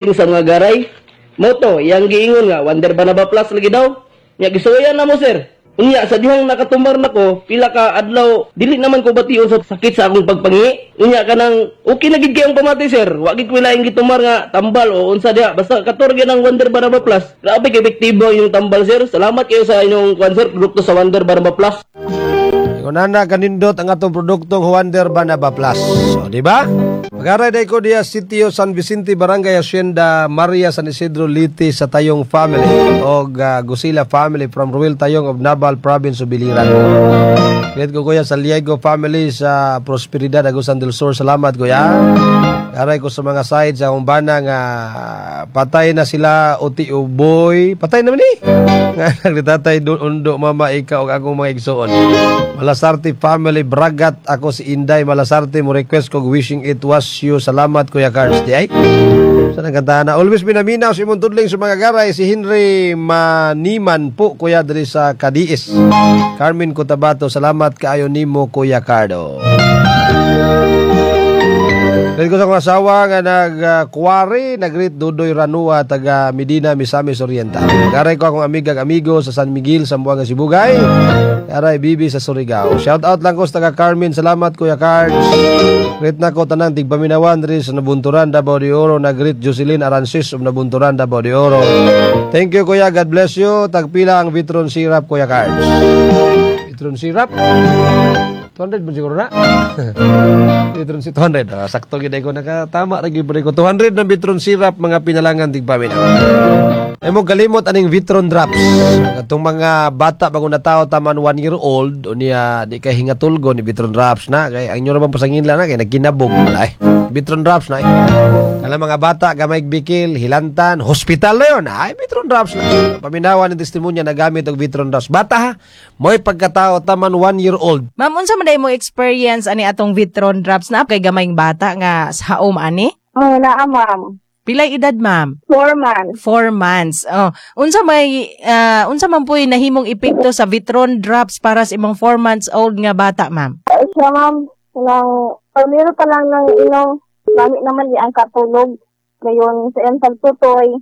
Sa mga garay. Moto, yang giingon nga Wonder Banaba Plus lagi daw. Nya gisuwayan na mo, sir. Unya sa dihang nakatumbar nako, pila ka adlaw dili naman ko bation sa sakit sa akong pagpangi. Unya kanang okay na gid kayong pamati, sir. Wa gid ko laing gitumar nga tambal o unsa diha. Basta kator gyud ang Wonder Banaba Plus. Grabe kay epektibo yung tambal, sir. Salamat kayo sa inyong kwan, sir, produkto sa Wonder Banaba Plus. Ingon ana kanindot ang atong produktong Wonder Banaba Plus. So, di ba? Magaray day ko diya Sitio San Vicente, Barangay Hacienda Maria, San Isidro, Leyte sa Tayong family og Gusila family from Ruel Tayong of Nabal, Province of Biliran. Greet ko, kuya, sa Liego family sa Prosperidad, Agusan del Sur. Salamat, kuya. Aray ko sa mga side sa akong bana nga patay na sila uti uboy. Patay naman ni. Nga nagtatay doon undo mama ikaw ug akong mga igsuon. Malasarte family Bragat, ako si Inday Malasarte, mo request ko "Wishing It Was You". Salamat, Kuya Cards. Di ay. Sa nagkantahan na always minaminaw si imong tudling sa mga garay, si Henry Maniman po, kuya, diri sa Kadiis. Carmen Cotabato, salamat kaayo nimo, Kuya Cardo. Dahil ko sa akong asawa nga nag-kuwari, nagrit Dudoy Ranua, taga Medina, Misamis Oriental. Garay ko akong amiga amigo sa San Miguel, Zamboanga Sibugay. Garay Bibi sa Surigao. Shout out lang ko sa taga Carmen. Salamat, Kuya Cards. Greet na ko tanang tigpaminawan diri sa Nabunturan, Davao de Oro. Nagrit Jocelyn Aransis of Nabunturan, Davao de Oro. Thank you, Kuya. God bless you. Tagpila ang Vitron syrup, Kuya Cards? Vitron syrup? 200 ba siguro na? Vitron si 200. Ah, sakto gid ko nakatama ra gyud ko. 200 na Vitron syrup, mga pinalangan tigpaminaw. Ay mo kalimot aning Vitron drops. Katong mga bata bago na tao taman 1 year old unya di kay hingatulgo ni Vitron drops na kay ang inyo ra bang pasangin na kay nagkinabog ay Vitron drops na eh. Kala mga bata gamay bikil, hilantan, hospital na yun. Ay, Vitron drops na. Paminawan ng testimonya na gamit og Vitron drops. Bata ha, mo'y pagkatao taman 1 year old. Ma'am, unsa man mo experience ani atong Vitron drops na kay gamayng bata nga sa home ani? Oh, naa, ma'am. Pilay edad, ma'am? 4 months. 4 months. Oh, unsa man po'y nahimong epekto sa Vitron drops para sa imong 4 months old nga bata, ma'am? Ay, siya, ma'am. Nang, primero pa lang ng inom, lami naman di ang katulog. Ngayon, sa iyang pagtutoy,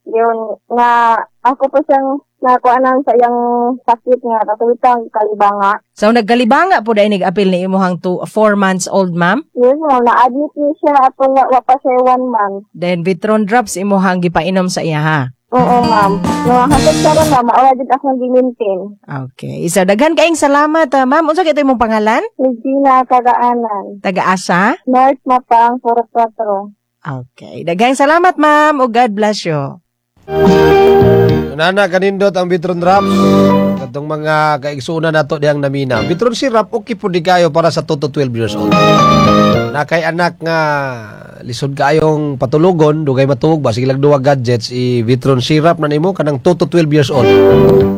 yun, nga, ako pa siyang nakuha nang sa iyang sakit nga, katuwitang kalibanga. So nagkalibanga po dahil nag-apil ni imuhang 4 months old, ma'am? Yes, ma'am, na-admit niya siya atong wa pa siya 1 month. Then Vitron drops imuhang gipainom sa iya ha. Oo, ma'am. No, hangtod karon, ma'am, maura jud akong gi-maintain. Okay. Isa daghan kaayong salamat, ah, ma'am. Unsa kay imong pangalan? Regina Kagaanan. Taga-asa? North Mapang, 44. Okay. Daghang salamat, ma'am. O God bless you. Nana kanindot ang Vitron drops. Katong mga kaigsuonan nato diyang namina. Vitron syrup okay po di kayo para sa 2 to 12 years old. Na kay anak nga lisod kaayong patulugon, dugay matuog ba sige lang duwa gadgets, i Vitron syrup na nimo kanang 2 to 12 years old.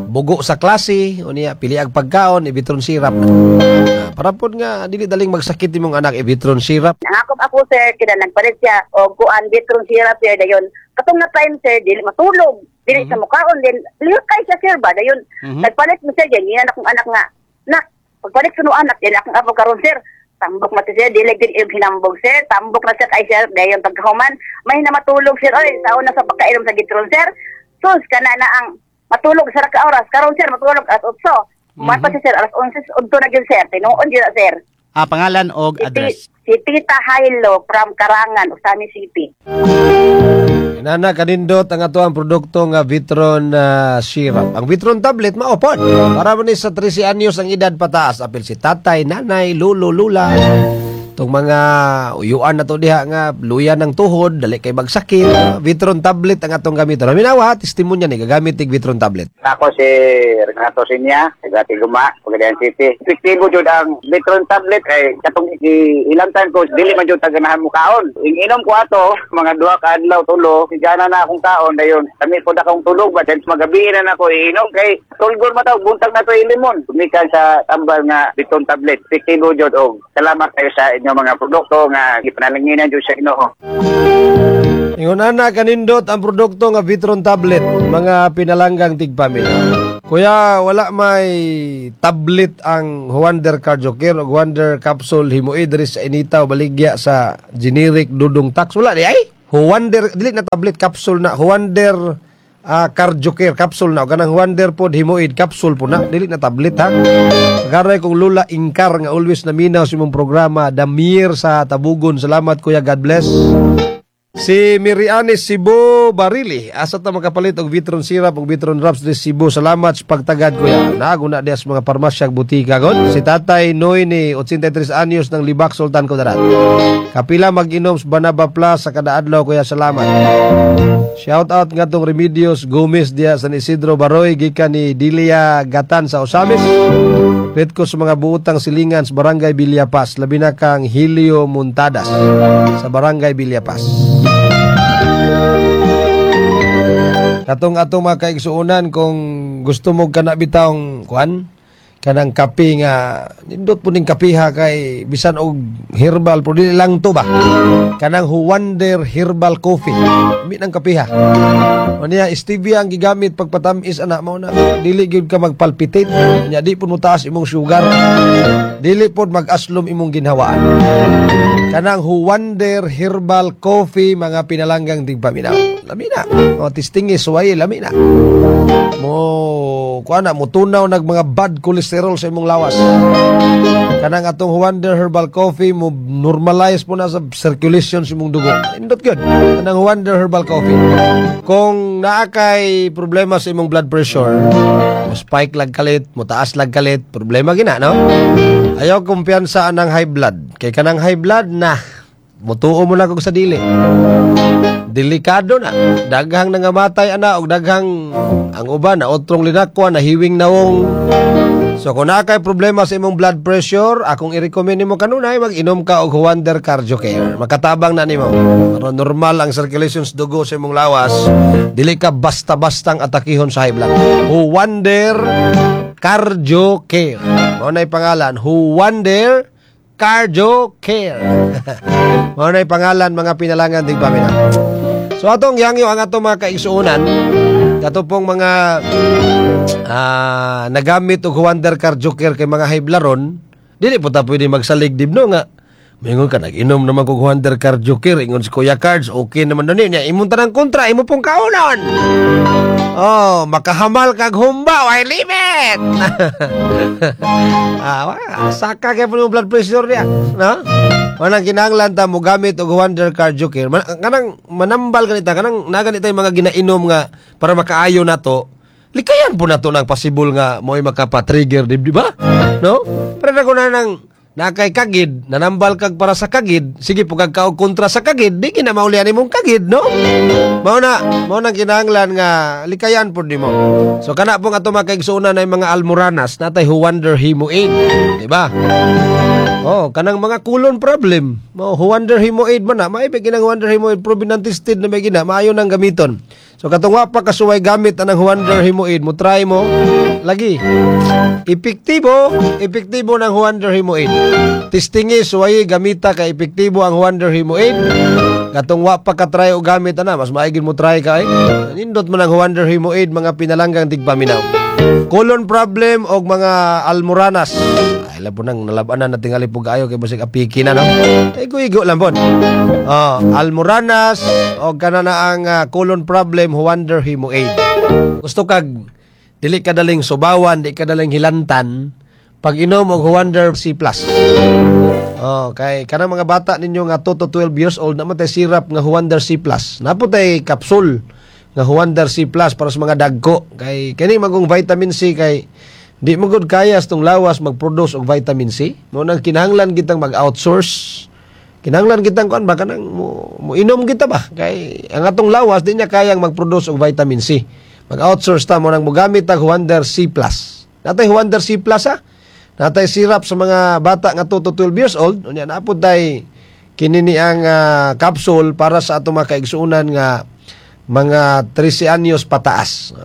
Bugo sa klase, unya pili ang pagkaon, i Vitron syrup na. Ah, para pod nga dili daling magsakit imong anak, i Vitron syrup. Nangakop ako, sir, kina nagpalit siya og kuan Vitron syrup, sir, dayon. Katong na time, sir, dili matulog. Dili sa mukaon din. Lihok kay siya, sir, ba dayon. Nagpalit mo, sir, yan yan akong anak nga. Nak, pagpalit ko no anak, dili akong apo karon, sir. Tambok mati sir, dili din yung hinambog, sir. Tambok na sir kay sir, dayon pagkahuman, may na matulog, sir. Oy, taon na sa pagkainom sa Vitron, sir. Sus kana na ang matulog sa ka oras. Karon, sir, matulog alas 8. Mm-hmm. Pa siya, sir, alas 11 udto na gyud, sir. Tinuon gyud na, sir. Ah, pangalan og Si, address. si Tita Hilo from Karangan, Ozamiz City. Nana kanindot ang ato ang produkto nga Vitron syrup. Ang Vitron tablet mao pod. Para man ni sa 13 anyos ang edad pataas, apil si tatay, nanay, lolo, lula. Tong mga uyuan na to diha nga luya ng tuhod, dali kay magsakit. Vitron tablet ang atong gamiton. Naminawa, testimonya ni gagamit tig Vitron tablet. Ako si Renato Sinya, taga Tiguma, Pagadian City. Epektibo jud ang Vitron tablet kay katong ilantan ko dili man jud taganahan mo kaon. Inom ko ato mga 2 ka adlaw, tulo, gana na akong kaon dayon. Kami po na akong tulog ba since magabi na nako iinom kay tulgon man taw buntag na to ilimon. Gumikan sa tambal nga Vitron tablet. Epektibo jud og salamat kayo sa inyong mga produkto nga gipanalanginan jud sa Ginoo. Ingon ana kanindot ang produkto nga Vitron tablet, mga pinalanggang tigpamilya. Kuya, wala may tablet ang Wonder Cardio Care o Wonder Capsule himuid diri sa Inita o baligya sa generic Dudong Tax. Wala di ay. Huwander, dili na tablet, capsule na. Huwander Cardio Care capsule na. O kanang Huwander pod Himoid capsule po na. Dili na tablet ha. Garay kong Lula Ingkar nga always naminaw sa imong programa Damir sa Tabugon. Salamat, kuya, God bless. Si Mirianis Cebu Barili. Asa ta makapalit og Vitron syrup og Vitron drops di Cebu? Salamat sa pagtagad, kuya. Naaguna diya sa mga parmasya ug butika god. Si Tatay Noy ni 83 anyos ng Libak, Sultan Kudarat. Kapila mag-inom sa Banaba Plus sa kada adlaw, kuya? Salamat. Shout out ngadtong Remedios Gomez diya San Isidro Baroy gikan ni Dilia Gatan sa Osamis. Greet ko sa mga buutang silingan sa Barangay Villapas, labi na kang Helio Muntadas sa Barangay Villapas. Katong atong mga kaigsuonan, kung gusto mo kana bitawng kuan kanang kape nga nindot po ning kapiha kay bisan og herbal pero dili lang to ba, kanang Huwander Herbal Coffee mi nang kapiha. Unya stevia ang gigamit pagpatamis ana, mao na dili gyud ka magpalpitate. Unya di pud mo taas imong sugar, dili pud mag-aslom imong ginhawaan. Kanang Huwander Herbal Coffee, mga pinalanggang tigpaminaw, lami na o testingi suway, lami na mo kuan na mutunaw nag mga bad cholesterol sa imong lawas. Kanang atong Huwander Herbal Coffee mo normalize po na sa circulation sa imong dugo. Indot gyud kanang Huwander Herbal Coffee. Kung naa kay problema sa imong blood pressure, mo spike lag kalit, mo taas lag kalit, problema gina, no? Ayaw kumpiyansa anang high blood kay kanang high blood na mutuo mo na kog sa dili. Delikado na. Daghang nangamatay ana og daghang ang uban na otrong linakwa na hiwing nawong. So kung naa kay problema sa imong blood pressure, akong i-recommend nimo kanunay mag-inom ka og Huwander Cardio Care. Makatabang na nimo. Para normal ang circulation sa dugo sa imong lawas, dili ka basta-bastang atakihon sa high blood. Huwander Cardio Care. Mao na'y pangalan, Huwander Cardio Care. Mao na'y pangalan, mga pinalangan tigpaminaw. So atong yangyo ang atong mga kaigsuonan, kato pong mga nagamit og Huwander Cardio Care kay mga high blood ron, dili po ta pwede magsalig dibno nga mingon ka, "Nag-inom naman kog Huwander Cardio Care, ingon si Kuya Cards, okay naman na niya." Imong tanang kontra, imo pong kaunon. Oh, makahamal kag humba, way limit. Wa, saka kay po blood pressure niya, no? Manang kinahanglan ta mo gamit og Huwander Cardio Care. Kanang manambal ganita, kanang na ganita yung mga ginainom nga para makaayo nato. Likayan po nato ng possible nga mo'y makapa-trigger, di ba? No? Pero na ko na nang nakay kagid, nanambal kag para sa kagid, sige po kag kaog kontra sa kagid, di gina maulian imong kagid, no? Mao na kinahanglan nga likayan pud nimo. So kana pong ato mga kaigsuonan ay mga almoranas, natay Huwander Himoaid, di ba? Oh, kanang mga colon problem. Mo Huwander Himoaid man na, maibig ginang Huwander Himoaid, proven and tested na may gina, maayo nang gamiton. So katong wa pa kasuway gamit anang Huwander Himoaid, mo try mo lagi. Epektibo, epektibo ng Huwander Himoaid. Testingi suway gamita kay epektibo ang Huwander Himoaid. Katong wa pa ka try og gamit ana, mas maigin mo try ka eh. Nindot man ang Huwander Himoaid, mga pinalanggang tigpaminaw. Colon problem og mga almoranas. Ay labo nang nalabanan na tingali po kaayo kay basig apiki na, no. Igo-igo lang pod. Oh, almoranas og kana na ang colon problem, Huwander Himoaid. Gusto kag dili ka daling subawan, di ka daling hilantan, pag inom og Huwander C+. Oh, kay kanang mga bata ninyo nga 2 to 12 years old, naman tay syrup nga Huwander C+. Napo tay capsule nga Huwander C+ para sa mga dagko kay kani magong vitamin C kay di mo gud kaya sa tong lawas mag-produce og vitamin C. Mo nang kinahanglan kitang mag-outsource. Kinahanglan kitang kuan ba kanang mo inom kita ba kay ang atong lawas di niya kayang mag-produce og vitamin C. Mag-outsource ta, mo nang mogamit tag Huwander C+. Natay Huwander C+ ha. Natay syrup sa mga bata nga 2 to 12 years old. Unya napod tay kini ni ang capsule para sa atong mga kaigsuonan nga Mga 13 anyos pataas.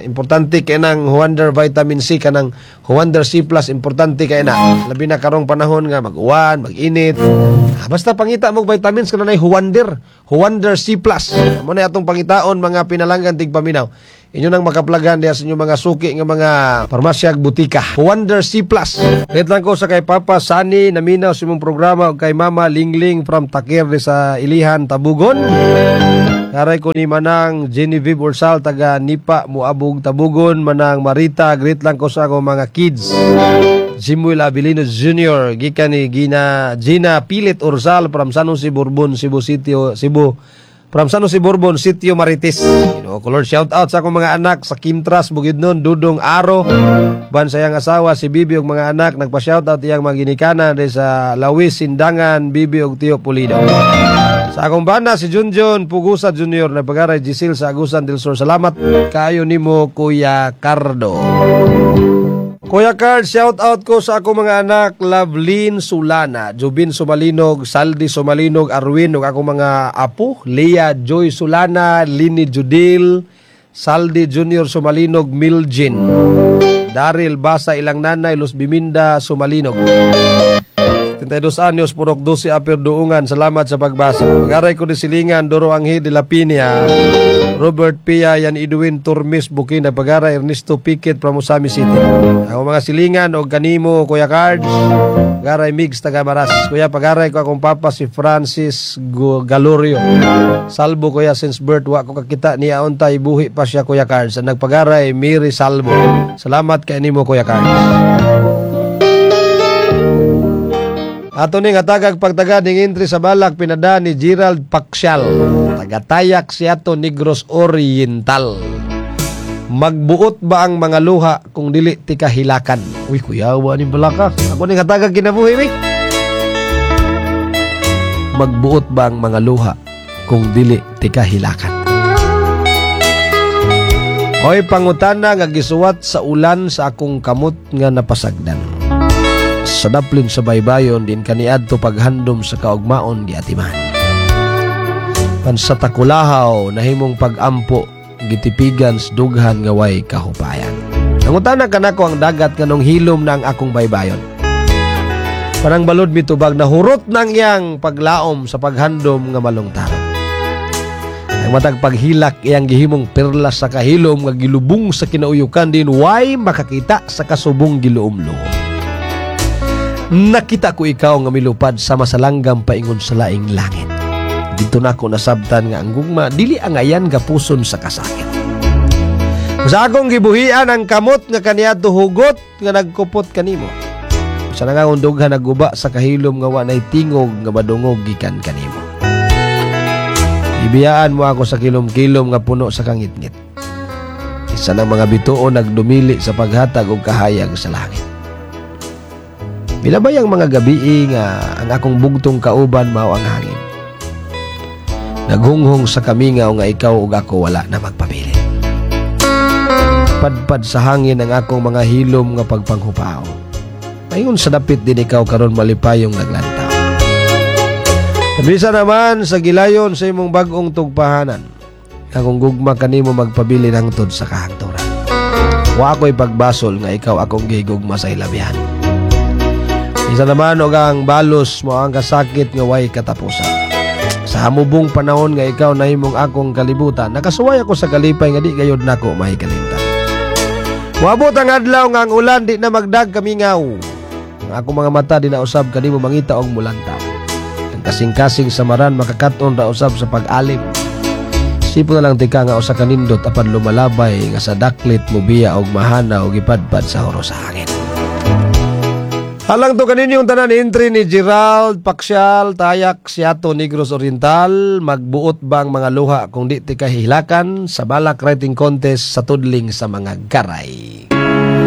Importante kay nang Huander Vitamin C, kanang Huander C Plus, importante kay na. Labi na karong panahon nga mag-uwan, mag-init. Basta pangita mo vitamins kanang Huander, Huander C Plus. Mo na atong pangitaon, mga pinalanggan tigpaminaw. Inyo nang makaplagan diha sa inyong mga suki nga mga parmasya ug butika. Huander C Plus. Wait lang ko sa kay Papa Sani, naminaw sa imong programa, ug kay Mama Lingling from Takir di sa Ilihan, Tabugon. Karay ko ni Manang Genevieve Ursal taga Nipa, Muabog, Tabugon, Manang Marita, greet lang ko sa akong mga kids. Jimuel Abilino Jr. gikan ni Gina Gina Pilit Ursal from San Jose Bourbon, Cebu City, Cebu. From San Jose Bourbon, Sitio Marites. Ko Lord, shout out sa akong mga anak sa Kimtras, Bukidnon, Dudong Aro. Ban sa iyang asawa si Bibi ug mga anak, nagpa-shout out iyang mga ginikanan sa Lawis, Sindangan, Bibi ug Tio Pulido. Sa akong bana si Junjun Pugusa Junior na pagaray Gisil sa Agusan del Sur. Salamat kayo nimo, Kuya Cardo. Kuya Carl, shout out ko sa akong mga anak, Lovelyn Sulana, Jubin Sumalinog, Saldi Sumalinog, Arwin, ug akong mga apo, Leah Joy Sulana, Lini Judil, Saldi Junior Sumalinog, Miljin, Daryl Basa, ilang nanay, Luz Biminda Sumalinog. 72 anyos, Purok 12, Upper Duungan. Salamat sa pagbasa. Magaray ko ni Silingan, Doro Anghi de la Pinia, Robert Pia, Yan Edwin Turmis, Bukina, Pagara, Ernesto Piquet from Ozamiz City. Ang mga silingan o kanimo, Kuya Cards, Pagaray Migs, taga Maras. Kuya, pagaray ko akong papa si Francis Galorio. Salbo, kuya, since birth, wa ko kakita niya unta, ibuhi pa siya, Kuya Cards. Ang nagpagaray, Mary Salbo. Salamat kay nimo, Kuya Cards. Ato ning hatagag pagtaga ning entry sa balak pinada ni Gerald Paxial. Tagatayak siya to Negros Oriental. Magbuot ba ang mga luha kung dili ti kahilakan? Uy, kuya, wa ni balaka. Ako ning hatagag kinabuhi, mi. Magbuot ba ang mga luha kung dili ti kahilakan? Hoy, pangutana nga gisuwat sa ulan sa akong kamot nga napasagdan. Sa daplin sa baybayon din kaniadto paghandom sa kaugmaon giatiman. Pan sa takulahaw nahimong pagampo gitipigan sa dughan nga way kahupayan. Nangutana kanako ang dagat nganong hilom na ang akong baybayon. Parang balod mitubag na hurot nang iyang paglaom sa paghandom nga malungtaron. Ang matag paghilak iyang gihimong perlas sa kahilom nga gilubong sa kinauyukan din way makakita sa kasubong giluom-luom. Nakita ko ikaw nga milupad sa masalanggam paingon sa laing langit. Dito na ako nasabtan nga ang gugma dili ang ayan gapuson sa kasakit. Sa akong gibuhian ang kamot nga kaniadto hugot nga nagkupot kanimo. Sa nga dughan nagguba sa kahilom nga wa nay tingog nga madungog gikan kanimo. Ibiyaan mo ako sa kilom-kilom nga puno sa kangitngit. Isa ng mga bituon nagdumili sa paghatag og kahayag sa langit. Milabay ang mga gabii nga ang akong bugtong kauban mao ang hangin. Naghunghong sa kamingaw nga ikaw ug ako wala na magpabilin. Padpad sa hangin ang akong mga hilom nga pagpanghupao. Paingon sa dapit din ikaw karon malipayong naglantaw. Bisa naman sa gilayon sa imong bag-ong tugpahanan. Akong gugma kanimo magpabilin hangtod sa kahangturan. Wa ako'y pagbasol nga ikaw akong gigugma sa hilabihan. Isa naman og ang balos mo ang kasakit nga way katapusan. Sa hamubong panahon nga ikaw nahimong akong kalibutan, nakasuway ako sa kalipay nga di gayod nako mahikalimtan. Moabot ang adlaw nga ang ulan di na magdag kamingaw. Ang akong mga mata di na usab kanimo mangita og mulantaw. Ang kasing-kasing samaran makakat-on ra usab sa pag-alim. Sipo na lang tika nga usa ka nindot apan lumalabay nga sa daklit mobiya og mahana og ipadpad sa horo sa hangin. Halang to kaninyong tanan entry ni Gerald Paxial, Tayak, Siato, Negros Oriental. Magbuot bang mga luha kung di ti kahilakan sa Balak Writing Contest sa tudling sa mga garay.